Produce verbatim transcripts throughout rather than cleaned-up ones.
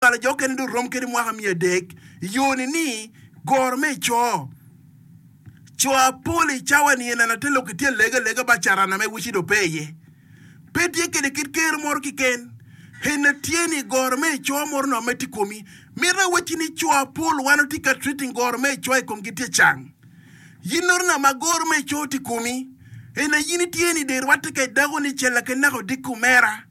Nywalo jo okene dong rom kede mwaka miya adek i yo ni ni goro me co. Co apol i cawa ni en ate lok itye alega alega ba carana me wici do pe iye. Pe tye kede kit ker moro kiken. Ena tye ni goro me co moro no me tye komi. Mito awacci ni co apol wan otye ka treating goro me co i komgi tye cang. Yin noro na ma goro me co tye komi. Ena yin itye ni de rwatte ka idako ni cella ke nako diko mera.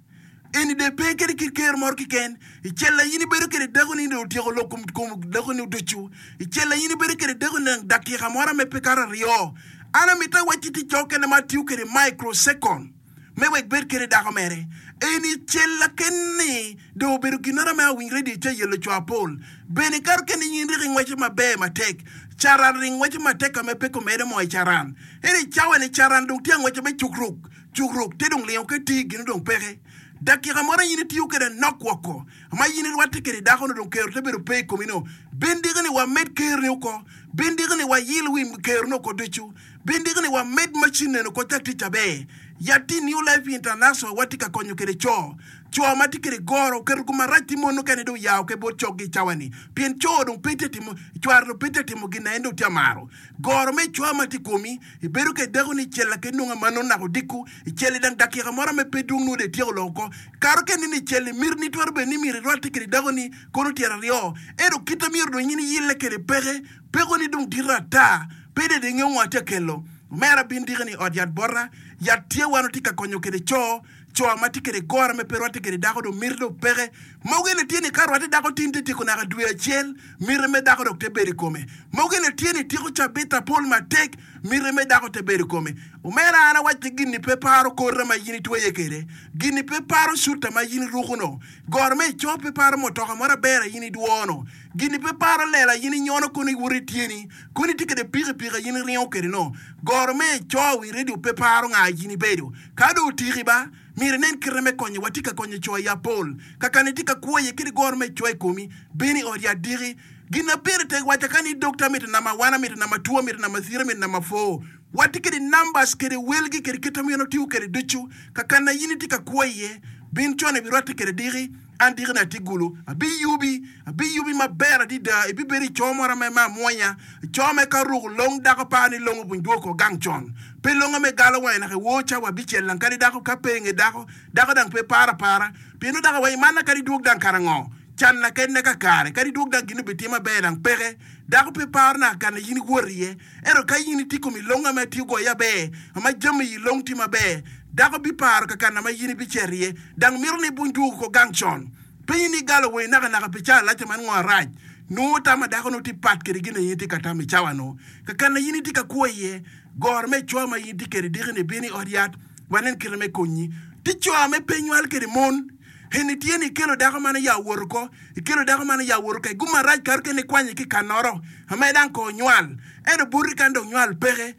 Eni de pe kede kit ker moro kiken. I cella yin ibedo kede dako ni de otyeko lok kom kom dako ni oducu. I cella yin ibedo kede dako ni dakika moro me pe kato aryo. An amito awacci ti co kene ma atiyo kede microsecond me wek bed kede dako mere. Eni cella ken-ni dong obedo ginoro me awiny radio ca yelo co apol. Bene kato kene yin rik ingweco maber matek. Caran ring ngweco matek ka me pe komedo mo i caran. Eni cawa ni caran dong tye angweco me cukruk. Cukruk te dong lingo ke ti gino dong peke. Dakika moro yin itiyo kede nok woko. Ma yin irwatte kede dako no dong kero te bedo pe i komi no. Ben diki ni wamed ker ni oko. Ben diki ni wayil wi ker no oko ducu. Ben diki ni wamed macin neno oko cak tic aber. Yat-ti New Life International watye ka konyo kede co. Co ma tye kede goro oketo gum marac ti mon okene dong yao ke bot cokgi i cawa ni. Pien co dong pe tye timo, cware dong pe tye timo gin na en dong tye amaro. Goro me cwa ma tye komi, ibedo kede dako ni icella ke nongo amano nako odiko, icelli dang dakika moro me pe dwong nongo dong ityeko loko oko. Karo kene ni icelli miti ni twero bedo ni myero irwatte kede dako ni kono tyero aryo. Ento kite myero dong in iyille kede peke, peko ni dong dito ata, pe dong ingeyo ngo atye kelo. Omera bin diki ni ot yat bota, yat tye wan otye ka konyo kede co, co ma tye kede goro me pe rwatte kede dako dong miti dong peke. Mogo ene tye ni ka rwatte dako tin te tyeko naka dwe acel, miti me dako dok te bedo i kome. Mogo ene tye ni tyeko cabit apol matek, miti me dako te bedo i kome. Omera an awacci gin-ni pe paro kota ma in itweye kede, gin-ni pe paro cuta ma in iruko no, goro me ico pe paro mutoka moro aber a in idwono, gin-ni pe paro lela in inyono kono iwoto i tyeni, kono itye kede pikipiki a in iringo kede no, goro me ico wi redio pe paro nga in ibedo. Ka dong otiki ba, myero inen kite me konyo, watye ka konyo co i apol. Kakana itye ka kwo iye kede goro me ico i komi, bino i ot yat diki. Gin na pire tek waca ka ni dokta mito namba one, amito namba two, amito namba three, amito namba four. Watye kede numbers kede welgi kede kite myero otiyo kede ducu. Kakana in itye ka kwo iye, bin con ibirwatte kede diki, an diki na atye gulu. Abiyubi, abiyubi maber adida, ibibedo i co moro me ma amwonya. Co me ka ruko long dako pa ni longo buny dwoko gang con. Pe longo me galo wange naka iwor cawa abicel lang kadi dako ka pe inge dako, dako dang pe paro apara. Pieno dako wa imana kadi dwog dang kara ngo. Can na kene kakare, kadi dwog dang gin obitimo aber dang peke. Dako pe paro naka kana in iwot iye. Ento ka in itye komi longo ma itiyo goyo aber, ma jami iyi long tye maber, dako biparo kakana ma in ibicito iye. Dang mito ni ibuny dwogo ko gang con. Penyi ni galo wangi naka naka pi cawa lac man ngo arac. Nongo tam a dako nongo tye pat kede gin na in itye ka tam i cawa no. Kakana in itye ka kwo iye, goro me cwa ma in itye kede diki ni bino i ot yat, wanen kite me konyi. Tye co me pe nywal kede mon. Eni tye ni ikelo dako man ya owoto ko, ikelo dako man ya owoto ka igum marac kato kene ikwanye ki kanoro, ame dang ko nywal. Ento boti kan dong nywal peke.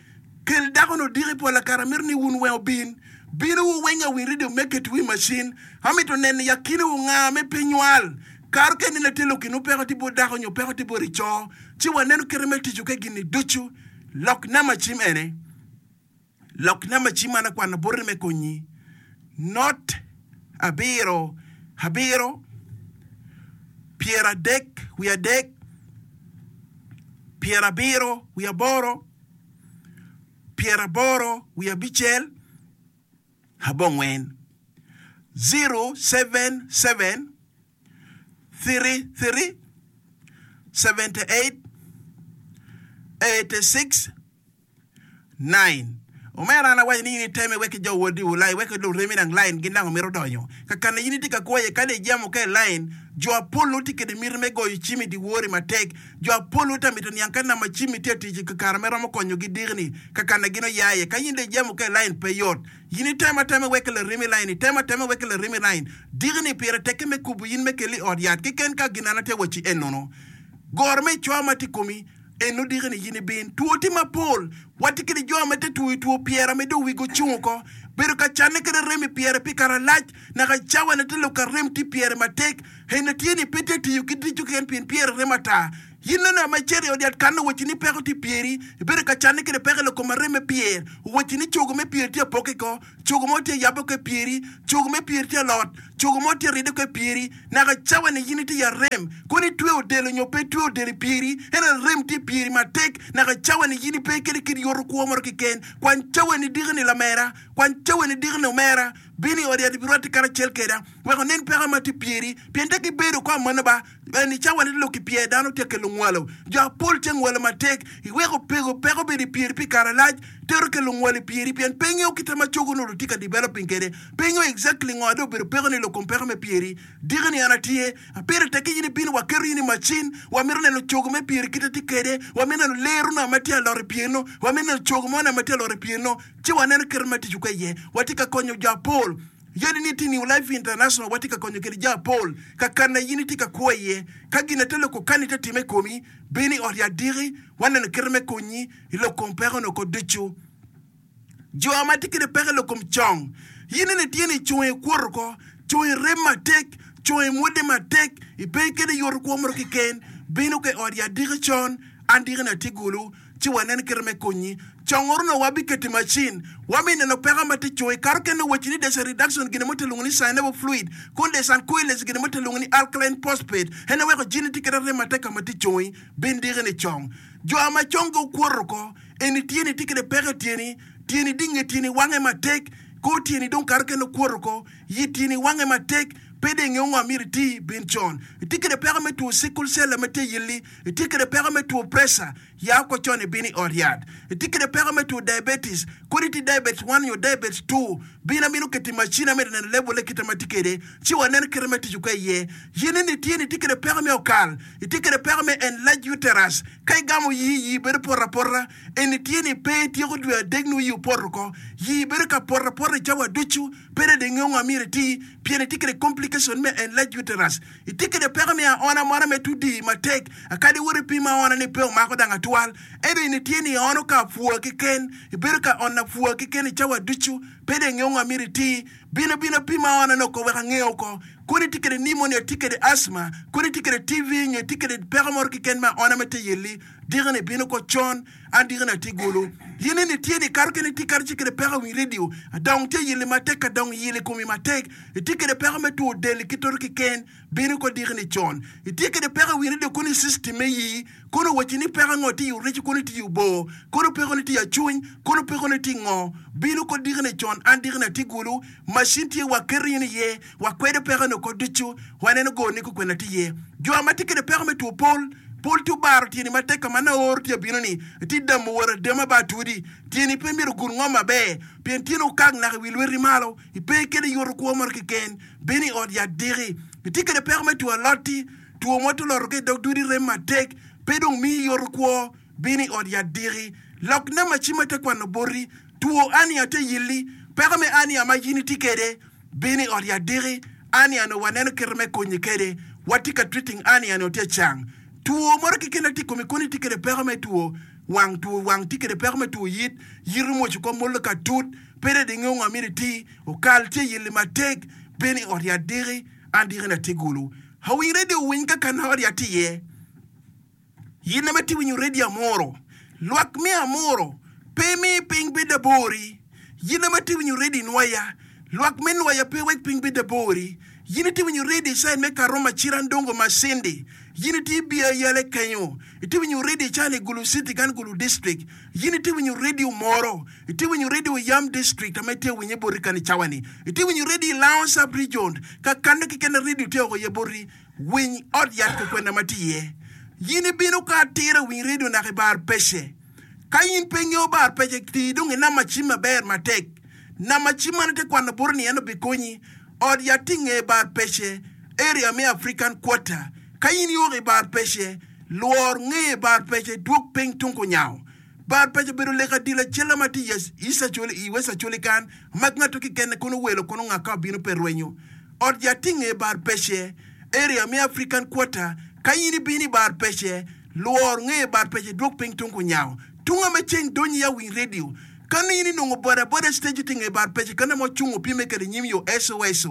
Kel dako no diki pola kara mito ni wun weng obin. Bino wu weng awiny radio me keto wi macin. Amito neno ya kine wu nga me pe nywal. Kato kene na tye lokinu peko tye bot dako nyo peko tye bot ico. Ci waneno kite me tico ke gin-ni ducu. Lok namba cim ene. Lok namba cim man akwano boti me konyi. Not abiro abiro pyeradek wiye adek pyerabiro wiye aboro pyeraboro wiye abicel abongwen zero seven seven three three seventy eight eighty six nine. Omera an awaco ni in iteme wek ki jo wodi wu lai wek luremi dang line gin dang omito donyo. Kakana in itye ka kwo iye kadi ijamo ka i line, jo apol nongo tye kede miti me goyo cim i dyewor-ri matek. Jo apol nongo tye mito niang ka namba cim-mi tye atic i kakare me romo konyogi diki-ni kakana gin oya iye. Ka in dong ijamo ka i line pe yot. In itemo atema wek ki laremi line, itemo atema wek ki laremi line. Diki-ni pire tekke me kubo in me keli i ot yat keken ka gin an atye wacci enono. Goro me cwa ma tye i komi Eno diki ni yin ibin. Two tye mapol. Watye kede jo ma te two i two pyera me dong wigi ocung oko. Bedo ka canne kede rem i pyere pi kare alac, naka cawa ne te lok ka rem tye pyere matek. Eno tye ni pe tye tiyo ki dico keken pien pyere rem ata. In nongo ma icito i ot yat kan owacci ni peko tye i pyeri, ibedo ka canne kede peko i lok kom arem me pyer. Owacci ni cogo me pyer tye apokke ko, cogo mo tye ayabbe oko i pyeri, cogo me pyer tye alot, cogo mo tye aridde oko i pyeri. Naka cawa-ni in itye i arem, kono itweyo odelo nyo pe itweyo odelo i pyeri, ento arem tye i pyeri matek. Naka cawa-ni in ipe kede kit yoto kwo mo keken. Kwany cawa-ni diki-ni lamera, kwany cawa-ni diki-ni omera, bin i ot yat ibirwatte karacel keda, wek onen peko ma tye i pyeri. Pien tek ibedo ko amano ba, En i cawa-ni lok i pyer dano tye kelo ngwalo. Jo apol tye ngwalo matek. Iweko pego peko bedo i pyeri pi kare alac, tero kelo ngwalo i pyeri pien pe ingeyo kite ma cogo onongo tye ka developing kwede. Pe ingeyo exactly ngo dong obedo peko ni lok kom peko me pyeri. Diki ni an atye, apire tek ki in ibino wa keto in i macin, wa mito neno cogo me pyeri kite tye kwede, wa mito neno lero na ma tye alot i pyeri no, wa mito neno cogo mo na ma tye alot i pyeri no, ci wa neno kite me tic kwede iye. Watye ka konyo jo apol. Yadi ni tye New Life International watye ka konyo kede jo apol ka kana in itye ka kwo iye. Ka gin ate loko kani te time i komi, bin i ot yat diki, waneno kite me konyi i lok kom peko no ko ducu. Jo ma tye kede peko i lok kom cong, in ene tye ni congi kwoto ko, congi rem matek, congi mwode matek, ipe kede yoto kwo moro keken, bino ka i ot yat diki con, an diki ni atye gulu. Ci wanen kite me konyi. Congoro nongo wabiketo i macin. Wami neno peko ma tye coyi. Kato kene wacci ni there's a reduction gine mo te lwongo ni synovial fluid kun there's an coalesce gine mo te lwongo ni alkaline phosphate en weko jini tye kede rem matek ka ma tye coyi. Bin diki ni cong. Jo ma congi okwoto oko eni tyeni tye kede peko i tyeni. Tyeni dinge tyeni wange matek. Kor tyeni dong kato kene okwoto oko. Yi tyeni wange matek. Pe dong ingeyo ngo myero iti. Bin con. Itye kede peko me two sickle cell ma tye iyilli. Itye kede peko me two pressure. Ya oko con ibino i ot yat. Itye kede peko me two diabetes, kodi itye diabetes one nyo diabetes two, bin amito keto i macin amito neno level ne kite ma tye kede ci wanen kite me tic ka iye. Yin ni tye ni itye kede peko me okal, itye kede peko me enlarged uterus, ka igamo yii, yii bedo poto apota, eni tye ni pe ityeko dwe adek nongo yii opoto oko, yii bedo ka poto apota i cawa ducu, pe dong ingeyo ngo myero iti pien itye kede complication me enlarged uterus. Itye kede peko me aona moro me tudi matek akadi wot ipim aona ni pe omako dang atwal ento in itye ni iono ka apwa keken ibedo ka ono apwa keken i cawa ducu pe dong ingeyo ngo myero iti bin abina pim aona ni oko wek ange oko kodi itye kede pneumonia itye kede asthma kodi itye kede T V nyo itye kede peko moro keken me aona me te yelli diki ni bino oko con an diki ni atye gulu in ni itye ni kato kene itye kato ci kede peko i wi radio adong tye yelli matek ka dong yeli komi matek Itye kwede peko me two del ki toto keken, bino ko diki ni con. Itye kwede peko i wi redio kono i system me yi, kono owacci ni peko ango tye i oreco kono tye i obor, kono peko ni tye i acuny, kono peko ni tye i ngo. Bino ko diki ni con, an diki ni atye gulu, machine tye wa keto in iye, wa kwedo peko ni oko ducu, wa neno gor ni kukwena tye iye. Jo ma tye kwede peko me two pol, pol tye obaro tyeni matek ka ma naoro tye abino ni, itye damo wot adema ba atudi, tyeni pe myero ogun ngom maber, pien tyeni okak naka i wi lweti malo. Ipe kede yoto kwo moro keken, bino i ot yat diki. Itye kede peko me two alot-ti, two mo toloto ki i dog dudi rem matek, pe dong miyi yoto kwo, bino i ot yat diki. Lok namba cim ate kwano boti, two ania te yelli, peko me ania ma in itye kede, bino i ot yat diki. Ania ni waneno kite me konyi kede, watye ka treating ania ni otye cang. Two moro keken atye i komi kono itye kede peko me two wang, two wang tye kede peko me two yit, yit omwoco kom molo ka tut, Pe dong ingeyo ngo myero iti, okal tye yelli matek, bino i ot yat diki, an diki ni atye gulu. Awiny redio owiny ka kana ot yat tye iye. Yin ame tye winyo redio amuro, lwak me amuro pe mi piny bed abori. Yin ame tye winyo redio inwaya, lwak me nwaya pe wek piny bed abori. Yin itye winyo redio i cain me Karuma, Cira, Ndongo, Masindi. Yin itye i Yale kenyo. Itye winyo redio i cain i Gulu City kan Gulu District. Yin itye winyo redio moro. Itye winyo redio i Yam District ame itye winye boti kan i cawa ni. Itye winyo redio i Lango Sub Region ka kano keken redio tye oko iye boti. Winy ot yat kukwena ma tye iye. Yin ibino ka atira winy redio naka i bar pece. Ka in pe ingeyo bar pece tii dong i namba cim maber matek. Namba cim man ite kwano boti ni en obikonyi. Ot yat tye inge bar pece, area me African Quarter. Ka in ioko i bar pece, lwor nge bar pece dwog piny tung kunyango. Bar pece obedo lek adil acella ma tye i West Acholi kan ma ngat kikene kono welo kono nga ka obino pe rwenyo. Ot yat tye inge bar pece, area me African Quarter. Ka in ibino i bar pece, lwor nge bar pece dwog piny tung kunyango. Tunga me ceng donyo i awiny radio. Ka ni in inongo boda boda stage tye inge bar pece ka namo ocungo opime kede nyim yo S O S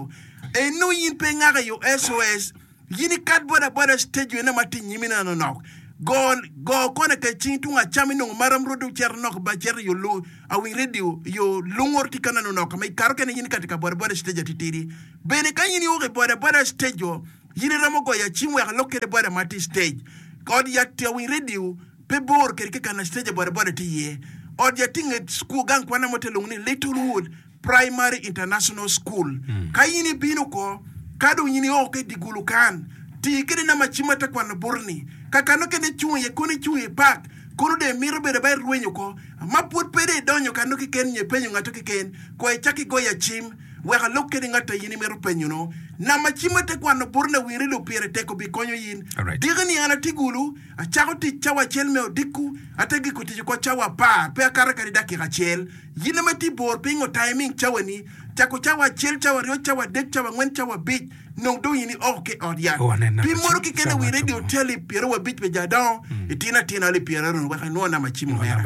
eno in pe ingako i yo S O S in ikat boda boda stage eno ma tye inyimi neno nok Go go kone ka cing tung acam inongo maram rodo cito nok ba cito yo lu awiny radio yo lungor tye ka neno nok ma ikato kene in ikati ka boda boda stage atitidi. Bene ka in iok i boda boda stage o in iromo goyo acim wek alok kede boda ma tye stage. Ot yat awiny radio pe bor kede ki kana stage boda boda tye iye. Ot yat tye nget school gang kwana mo te lwongo ni Littlewood Primary International School. Ka in ibino oko, ka dong in ioko ki i dye gulu kan, ti kede namba cim ma te kwano boti-ni. Ka kano kene icung iye, kono icung i pak, kono dong imito bedo ba irwenyo oko. Ma pwod pe dong idonyo kano keken nyo ipenyo ngato keken, kong icak igoya cim wek alok kede ngat a in imito penyo-nu. Namba cim ma te kwano boti-ni awinyo ni dong pire tek obikonyo in. Diki-ni an atye gulu, acako tic cawa acel me odiko, ate giko tic oko cawa apar, pe akato kadi dakika acel. Yin ma itye bor piny otaiming cawani, cako cawa acel, cawa aryo, cawa adek, cawa angwen, cawa abic, nong dong in ioko ki i ot yat. Pi moto keken awi radio tye alip pyeraryo wa abic pi jo adongo, itino atina alip pyeraryo wek inwo namba cim omera.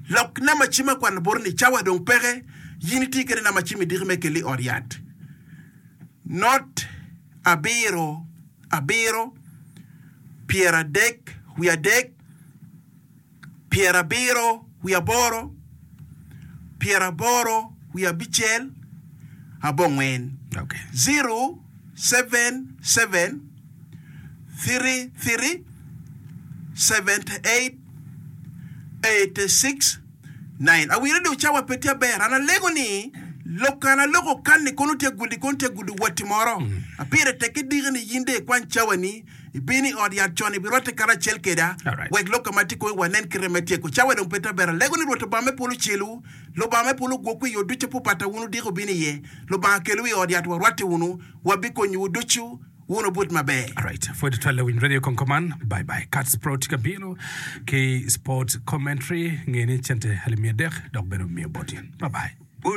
Lok namba cim akwano boti ni cawa dong peke, yin itye kede namba cim idiki me keli i ot yat. Not abiro abiro pyeradek wiye adek. pyerabiro wiye aboro, pyeraboro wiye abicel, abongwen, zero, seven, seven, three, three, seventy eight, eighty six, nine. Awire dong cawa pe tye aber. An alego ni lok an aloko kan-ni kono tye agudi kono tye agudo watti moro. Pire tek ki diki ni in dong ikwany cawani Ibino i ot yat con, ibirwatte karacel keda, wek lok ka ma tye koyi wanen kite me tyeko. Cawa dong pe tye aber. Alego ni Rwot Lubanga me polo ocelwu, Lubanga me polo ogwokwu i yo ducu pupata wun odiko obino iye. Lubanga kelwu i ot yat warwatte wunu, wabikonyowu ducu, wun wubut maber. Alright, pwod twal lawiny radio kong kuman. Bye bye. Cats Pro tye ka bino ki sport commentary. Nge ni cente alip miya adek dok bene omiyo boti. Bye bye.